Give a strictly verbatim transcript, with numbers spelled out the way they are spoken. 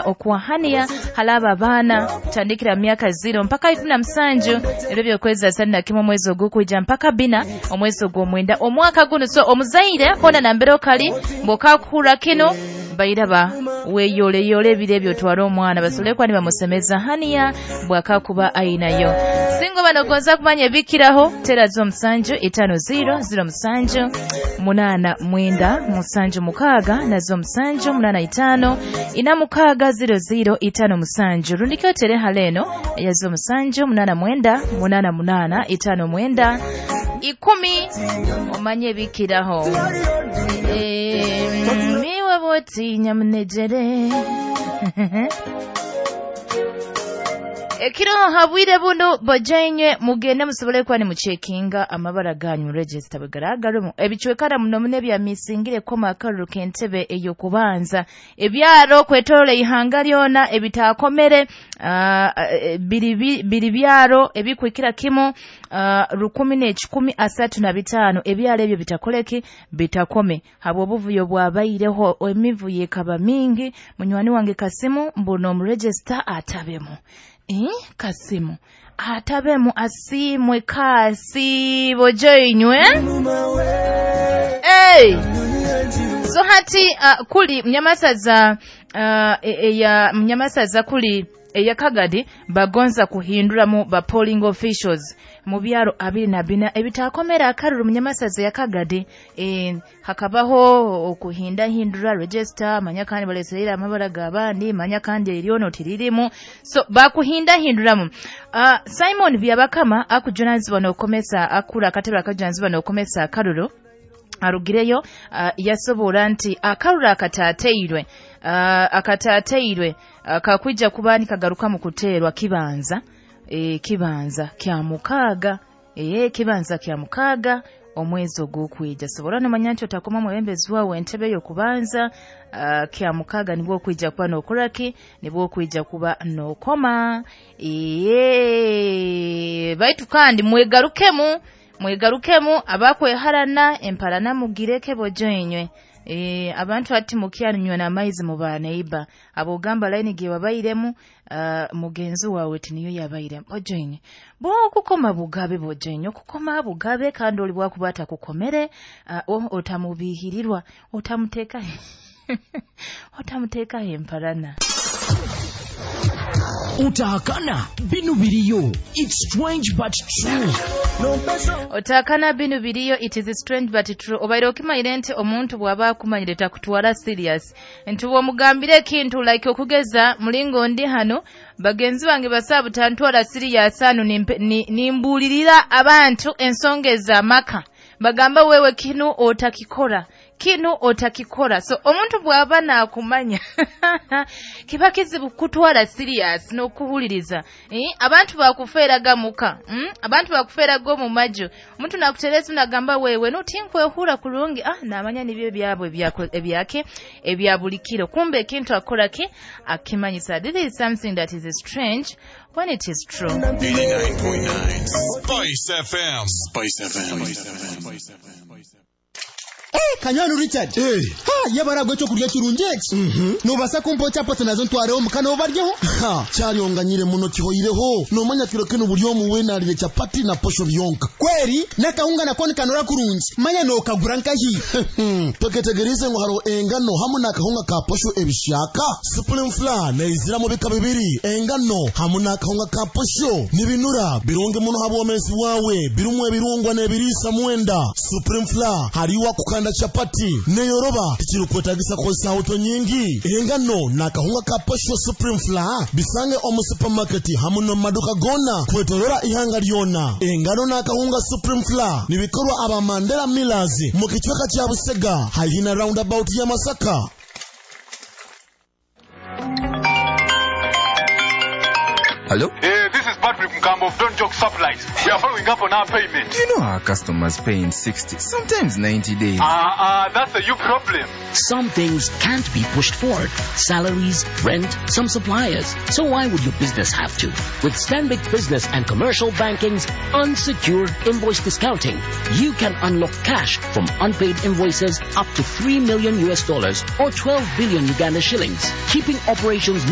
Okuwahania halaba abaana kutandikira myaka zero mpaka ikumi na musanju, ebyo byokwezi asatu na kimwe omwezi ogukwijja mpaka bina omwezi ogw'omwenda omwaka guno. So omuzaire hona nambere okali bw'okakuhurra kino, bairaba weyoleyole ebiro ebyo, otware omwana basobole kuba nibamusemeza haniya bwakakuba ainayo. Singa oba nogonza kumanya ebikiraho, tera zo musanju itaano zero zero musanju munaana mwenda musanju mukaaga, nazo musanju munaana itaano ina mukaaga zero zero itaano musanju, rundi otere hale eno eya zo musanju munaana mwenda munaana munaana itaano mwenda ikumi, omanye ebikiraho. Eh, miwe boti nyamunejere ekiro habwire buno, bajainywe mugende musobole kuba nimucekinga amabara ganyu mu register bwegaragarumu. Ebicwekara muno muno ebyamisingire koma akaruru k'entebe ey'okubanza, ebyaro kwetorola ihanga lyona ebitakomere, ah, eh, biri biri byaro ebikwikira kimu ah, rukumi n'ekikumi asatu na bitaano. Ebyaro ebyo bitakoleki, bitakome habw'obuvuyo bwabaireho, emivuyo ekaba mingi. Munywani wange Kasimu mbuno omuregister atabemu. Eh, Kasimu atabemu, asiimwe kasi bojoinywe. Hey! So hati uh, kuli mnyamasaza uh, eya mnyamasaza kuli eya Kagadi bagonza kuhinduramu ba polling officials mu byaro abiri na bina ebitakomera akaruru munyamasaza ya Kagadi. E, hakabaho okuhindahindura register, manya kandi baleserera amabara g'abandi, manya kandi eryono tiririmu, so bakuhindahinduramu. uh, Simon Byabakama akujunanizibwa n'okukomesa akura akatebe akajunanizibwa n'okukomesa akaruru arugireyo, uh, yasobola nti akaruru akatateirwe uh, akatateirwe uh, kakwija kuba nikagaruka mu kuteerwa kibanza e, kibanza kya mukaaga e, kibanza kya mukaaga omwezi ogw'okwija. Sobola nomanya nti otakoma mwebembezi wawe entebe y'okubanza uh, kya mukaaga nibwo okwija kuba n'okoraki, nibwo okwija kuba n'okoma. Ee, baitu kandi mwegarukemu, mwegarukemu abakweharana emparana mugireke bojoinywe. E, abantu ati mukyanywa n'amaizi mu baneiba, abogamba line ge wabairemu uh, mugenzi wawe tiniyo yabairemu bojoinywe. Bo okukoma bugabe bojoinywe, okukoma bugabe, kandi oli bwakuba atakukomere uh, otamubihirirwa, otamuteka otamuteka emparana. Utahakana binu biriyo, it's strange but true. Otakana binu biriyo, it is strange but true. Obaire okimayire nti omuntu bw'aba akumanyire takutwara serious, nti bw'omugambira ekintu like okugeza mulingo ndi hano, bagenzi bange basaba tantwara serious hano, nimbuulirira abantu ensonga ez'amaka, bagamba wewe kinu otakikora, kinu otakikora. So omuntu bw'aba naakumanya kiba kizibu kutwara serious n'okuwuliriza. Eh, abantu bakufeeraga muka, mm? Abantu bakufeeraga omu maju, omuntu nakutereza nagamba wewe notinkwehura kurungi, ah, namanya nibyo byabwe ebyake ebya buli kiro, kumbe ekintu akora ki akimanyisa. This is something that is strange when it is true. eighty-nine point nine Spice F M. Spice F M. Spice F M. Eh, Kanywani Richard. Eh. Ha, yabara gwe kyokurya kirungi eki. Mhm. Nobasa kumpa chapati nazo ntwareho mukana obaryeho? Ha, kyaryonganyire muno kihoireho. Nomanya kiro kino buli omu wena alire chapati na posho byonka. Kweri, nakahunga nako nikanora kurungi. Manya nokagura nkahi. Toketegerize ngo haro engano hamu nakahunga ka posho ebishaka. Supreme Flour neizira mu bika bibiri. Engano hamu nakahunga ka posho. Nibinura birungi muno habwomezi wawe. Birumwe ebirungwa n'ebiriisa mwenda. Supreme Flour hariwa kukanda chapati neyoroba tikirukwetagisa kukozesa auto nyingi. Engano nakahunga ka posho Supreme Flour bisange omu supermarket hamu no maduka gona kwetorora ihanga lyona. Engano nakahunga Supreme Flour nibikorwa aba Mandela Millers mu kichweka kya Busega haihi na roundabout ya Masaka. Hello? Hey, this is Patrick. Dominic Mkambo of Don't Joke Supplies. We are following up on our payment. You know our customers pay in sixty, sometimes ninety days. Ah, uh, uh, that's a you problem. Some things can't be pushed forward. Salaries, rent, some suppliers. So why would your business have to? With Stanbic Business and Commercial Banking's unsecured invoice discounting, you can unlock cash from unpaid invoices up to three million U S dollars or twelve billion Uganda shillings, keeping operations